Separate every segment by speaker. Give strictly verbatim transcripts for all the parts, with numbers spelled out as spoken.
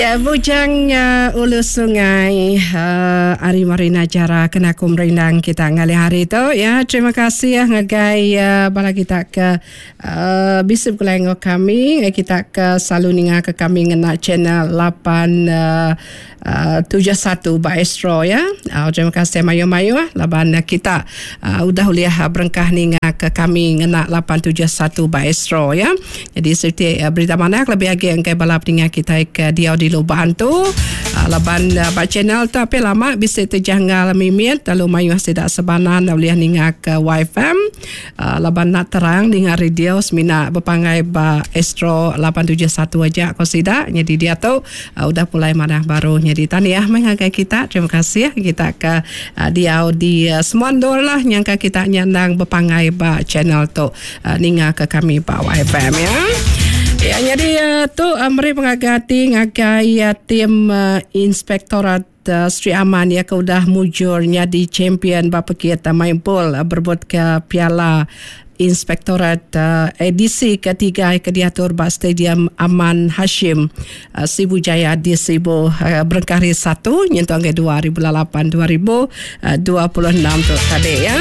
Speaker 1: Ya, Bujang uh, Ulu Sungai uh, Ari Marina Jara kena aku merindang kita ngalih hari tu ya. Terima kasih ya ngagai uh, bala kita ke uh, bisi begulai enggau kami, ngagai kita ke selalu ninga ke kami ngena channel lapan uh, uh, tujuh satu ba Astro ya. Uh, terima kasih mayuh-mayuh laban uh, kita uh, udah ulih uh, berengkah ninga ke kami ngena lapan tujuh satu ba Astro ya. Jadi serti uh, berita manah lebih agi engkai bala peninga kita ke diau di Lubang tu uh, laban uh, ba channel tu api lama bisi terjanggal mimit lalu mayuh sidak sebanan ulih ninga ke Y F M uh, laban nak terang ninga radio semina berpangai ba Astro lapan tujuh satu aja ko sidak. Jadi dia tu uh, udah pulai manah baru. Jadi tahniah mengagai kita. Terima kasih kita ke uh, diau di uh, semua ndor lah nyangka kita nyandang berpangai ba channel tu uh, ninga ke kami ba Y F M ya. Ya, jadi uh, tu uh, meri pengagati ngagai uh, tim uh, Inspektorat uh, Sri Aman ya ke udah mujurnya di champion ba pekit uh, main bol uh, berebut ke Piala Inspektorat uh, edisi ketiga ke diatur ba Stadium Aman Hashim uh, Sibu Jaya di Sibu uh, berengkah hari satu nyentuh ke dua ribu lapan dua ribu dua puluh enam tu tadi ya.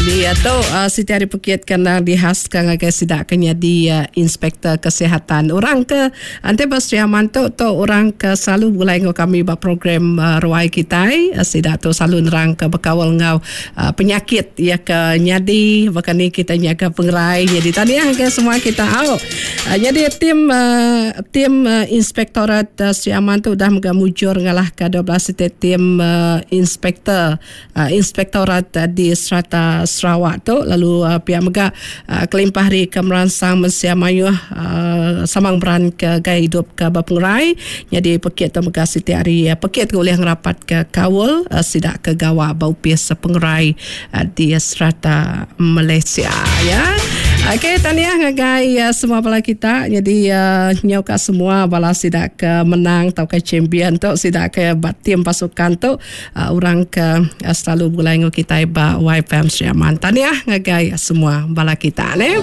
Speaker 1: Jadi uh, tu uh, Siti Hari Pekit kena dihaskan ngagai sidak kena di uh, Inspektor Kesihatan. Orang ke ante ba Sri Aman tu tu orang ke selalu mulai ngau kami ba program uh, ruai kitai uh, sidak tu selalu nerang ke bekawal ngau uh, penyakit ya ke nyadi bahkan ni kita ke pengerai. Jadi tahniah ke semua kita au. Uh, jadi tim uh, tim uh, Inspektorat uh, Sri Aman tu dah mega mujur ngalah ke dua belas tim uh, inspektor uh, Inspektorat uh, di serata Sarawak tu lalu uh, pihak mega uh, kelimpah hari ke meransang mensia mayuh uh, samang beran ke gaya hidup ke berpengerai. Jadi pekit tu mega siti hari uh, pekit boleh ngerapat ke kawal uh, sidak ke gawa bau pis pengerai uh, di serata Malaysia ya. Okey, tahniah ngagai uh, semua bala kita. Jadi uh, nyau ka semua bala sidak ke menang atau ke champion tu sidak ke tim pasukan tu uh, orang ke uh, selalu bulai ngau kita ba Y F M Sri Aman. Tahniah ngagai semua bala kita ne.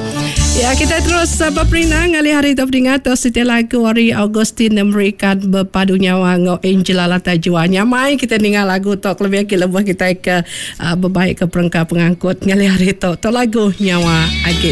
Speaker 1: Ya, kita terus uh, berperindang ngalih hari tu beringat tu siti lagu ari Augustine memberikan berpadu nyawa ngau Angela Lata Jua. Nyamai kita dengar lagu tu lebih lagi lebuh kita ke uh, berbaik ke perengka pengangkut ngalih hari tu. Tu lagu nyawa agi